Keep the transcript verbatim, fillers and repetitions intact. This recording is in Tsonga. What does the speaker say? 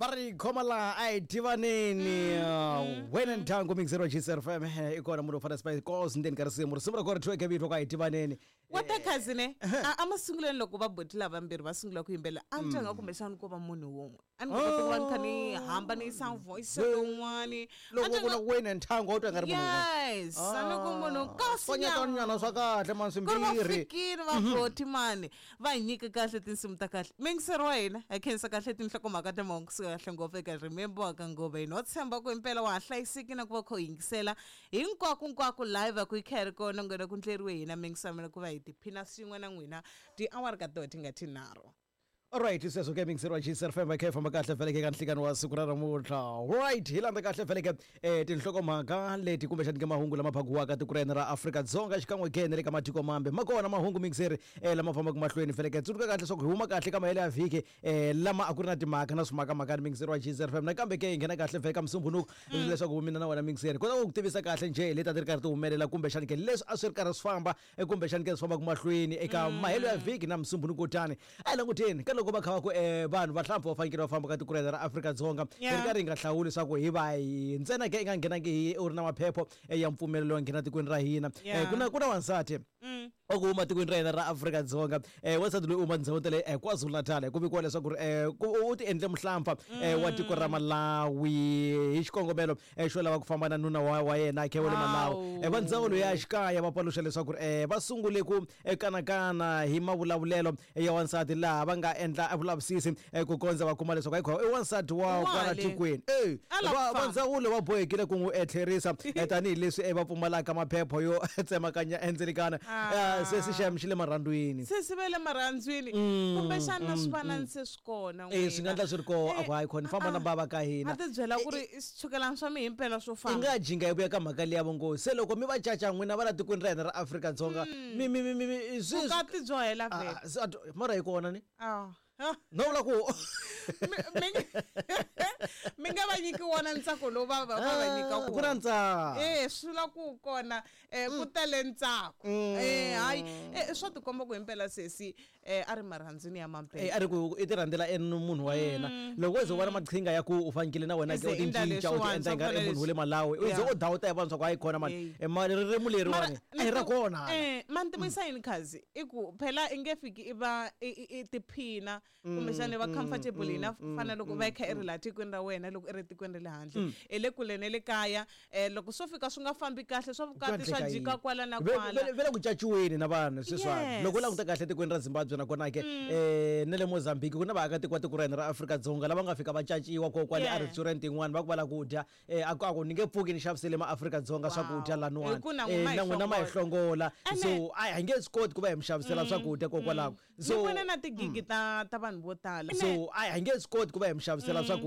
Va ri khoma laha a hi tivaneni wena ndyangu mixero G F M i kona munhu wo fana Spice Girls ndzeni ka risimu risimu ra kona ri thyiweke vito ka hi tivaneni. Wa ta cousin a masungulweni loko va boti lavambirhi va sungula ku yimbelela a ni twa nga kumbexana ko va munhu wun'we a ni kota ku va ni kha ni hambanisa voice lowun'wani loko ku na wena nthango u twa nga ri munhu wun'we. Yes, a ni ku munhu kasi nyana swa kahle mani swimbirhi fikini va boti mani va hi nyika kahle tinsimu ta kahle mingisero wa hina hi khensa kahle tinhlokomhaka ta mahungu kusuka kahle ngopfu eka Remember ka ngova hina wa tshemba ku impela wa ha hlayiseki na ku va kha u yingisela hinkwako hinkwako live a ku yi kha yi ri kona nghena ku ndleriwe hina mingiselo ku va hi tiphina swin'we na n'wina tiawara ka toho ti nga tinharhu. Alright, sweswo ke mixero wa G F M khe famba kahle vhele ka nhlikani wa siku ra namuntlha. Right, hi landza kahle vhele ke eh tinhlokomhaka leti kumbexana ke mahungu lama phakiwaka tiko ra ra Afrika-Dzonga xikan'we ke na le ka matiko mambe ma kona mahungu mixeri eh lama fambaka mahlweni vhele ke tsundzuka kahle leswaku hi huma kahle ka mahelo ya vhiki eh lama a ku ri na timhaka na swimakamaka ni mixeri wa G F M nakambe ke hi nghena kahle vhele ka musumbhunuko leswaku mina na wena mixeri kota ku tivisa kahle njhe leti a ti ri karhi ti humelela kumbexana ke leswi a swi ri karhi swi famba kumbexana ke swi fambaka mahlweni eka mahelo ya vhiki na musumbhunuko tani a hi languteni ka loko va kha va ku eh vanhu vahlampfa va fanekele va famba ka tiko ra Afrika-Dzonga hi ri karhi hi nga hlawuli leswaku hi va hi ntsena ke i nga nghenangi hi u ri na maphepho ya mpfumelelo wa nghena tikweni ra hina ku na ku na wansati wa ku huma tikweni ra hina ra Afrika-Dzonga eh wansati loyi u huma tindhawu ta le KwaZulu-Natal ku vikiwa leswaku ri u ti endle muhlampfa wa tiko ra Malawi hi xikongomelo xo lava ku famba na nuna wa wa yena khe wa le Malawi va ndzawulo ya xikaya va paluxa leswaku va sungule ku kanakana hi mavulavulelo ya wansati laha va nga endla vulavisisi ku kondza va kuma leswaku hayi i wansati wa kwala tikweni eh va ndzawulo va bohekile ku n'wi etlherisa tanihileswi va pfumalaka maphepho yo tsemakanya endzelikana se se xem xi le marhandzwini se se le marhandzwini kumbexana swi fana se swi kona eh swi nga endla swi ri kona a ku hayi khona famba na bava ka hina a ti byela ku ri swichukelana swa mi himpela swo famba i nga jinga hi vuya ka mhaka liya vongo se loko mi va caca n'wina va la tikweni ra hina ra Afrika-Dzonga mi mi mi mi swi vukati byo hela vhele mara hi kona ni ah no vula ku mi nga va nyiki wona ntsako lowu va va va nyika ku na ntsako eh swi vula ku kona eh ku tele ntsako eh hayi eh swa tikomba ku himpela sesi eh a ri marhandzwini ya mampela eh a ri ku i ti rhandzela e munhu wa yena loko u ze u vona maqhinga ya ku u fanekele na wena ke u tincinca u ti endla nga ri munhu wa le Malawi u ze u dawuta ya vanhu swa ku hayi kona mani mali ririmi leriwani a hi ra kona eh mani tivisa yini khazi i ku phela i nge fiki i va i tiphina kumbexana va comfortable enough fana loko va kha i ri laha tikweni ra wena loko i ri tikweni ra le handle i le kule na le kaya loko swo fika swi nga fambi kahle swa vukati swa jika kwala na kwala ve le ku caciweni na vanhu sweswiwani loko u languta kahle tikweni ra Zimbabwe nakona ke eh na le Mozambique ku na vaakatiko va tiko ra hina ra Afrika-Dzonga lava nga fika va caciwa ko kwale a restaurant yin'wana va ku va lava ku dya a ku a ku ni nge pfuki ni xavisele ma-Afrika-Dzonga swakudya laniwani na n'wina ma hi hlongola so a hi nge swi koti ku va hi mi xavisela swakudya kokwalaho so ni vona na tigigi ta ta vanhu vo tala so a hi nge swi koti ku va hi mi xavisela swakudya.